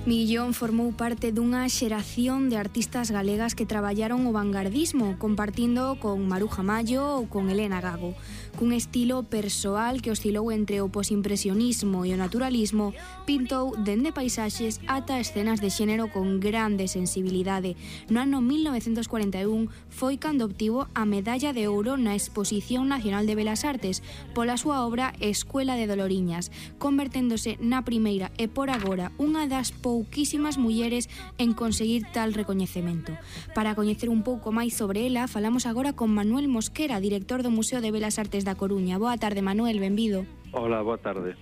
Miguillón formou parte dunha xeración de artistas galegas que traballaron o vanguardismo, compartindo con Maruja Mallo ou con Elena Gago. Cun estilo persoal que oscilou entre o posimpresionismo e o naturalismo, pintou dende paisaxes ata escenas de xénero con grande sensibilidade. No ano 1941 foi cando obtivo a medalla de ouro na Exposición Nacional de Belas Artes pola súa obra Escuela de Doloriñas, converténdose na primeira e por agora unha das pouquísimas mulleres en conseguir tal recoñecemento. Para coñecer un pouco máis sobre ela, falamos agora con Manuel Mosquera, director do Museo de Belas Artes da Coruña. Boa tarde, Manuel, benvido. Hola, boa tarde.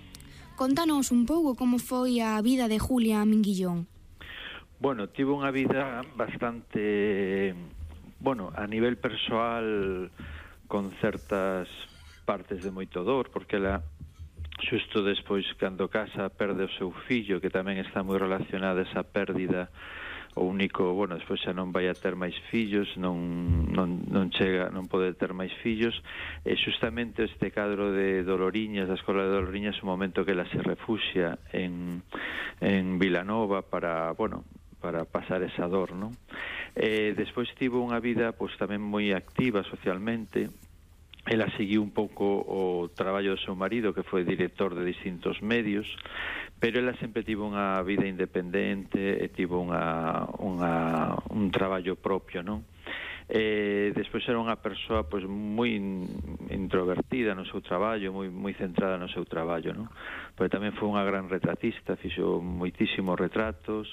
Contanos un pouco como foi a vida de Julia Minguillón. Bueno, tivo unha vida bastante, a nivel persoal, con certas partes de moito dor, porque ela xusto despois, cando casa, perde o seu fillo, que tamén está moi relacionada esa pérdida. O único, despois xa non vai a ter máis fillos, non pode ter máis fillos, e xustamente este cadro de Doloriñas, da Escola de Doloriñas, o momento que ela se refuxia en Vilanova para pasar esa dor, non? Despois tivo unha vida tamén moi activa socialmente. Ela seguiu un pouco o traballo do seu marido, que foi director de distintos medios, pero ela sempre tivo unha vida independente e tivo un traballo propio, non? Despois era unha persoa moi introvertida no seu traballo, moi centrada no seu traballo, non? Porque tamén foi unha gran retratista, fixo moitísimos retratos,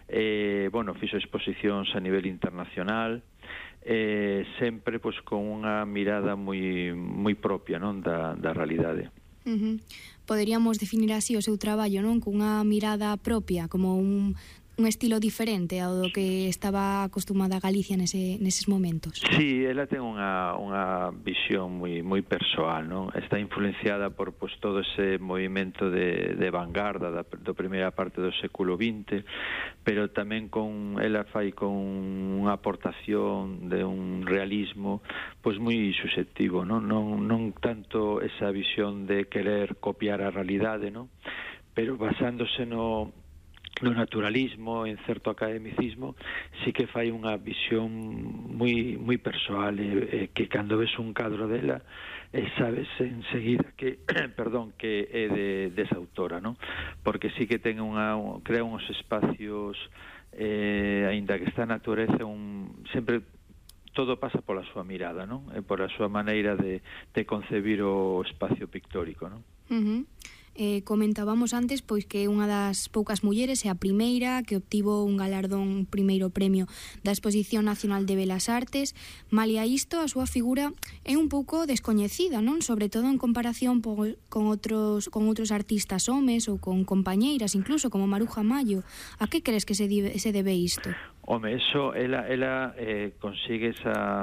fixo exposicións a nivel internacional, sempre con unha mirada moi propia, non, da realidade. Poderíamos definir así o seu traballo, non? Cunha mirada propia, como un estilo diferente ao do que estaba acostumada Galicia neses momentos. Sí, ela ten unha visión moi persoal, non? Está influenciada por todo ese movimento de vanguarda da primeira parte do século XX, pero tamén ela fai con unha aportación de un realismo moi susceptivo, non tanto esa visión de querer copiar a realidade, non? Pero basándose no naturalismo, en certo academicismo, sí que fai unha visión moi persoal, que cando ves un cadro dela sabes enseguida que é desa autora, non? Porque sí que ten crea uns espacios, aínda que está a natureza, sempre todo pasa pola súa mirada, non? E pola súa maneira de concebir o espacio pictórico, non? Comentábamos antes que é unha das poucas mulleres e a primeira que obtivo un galardón, primeiro premio da Exposición Nacional de Belas Artes. Malia isto, a súa figura é un pouco descoñecida, non? Sobre todo en comparación con outros artistas homes ou con compañeiras, incluso como Maruja Mallo. A que crees que se debe isto? Home, ela consigue esa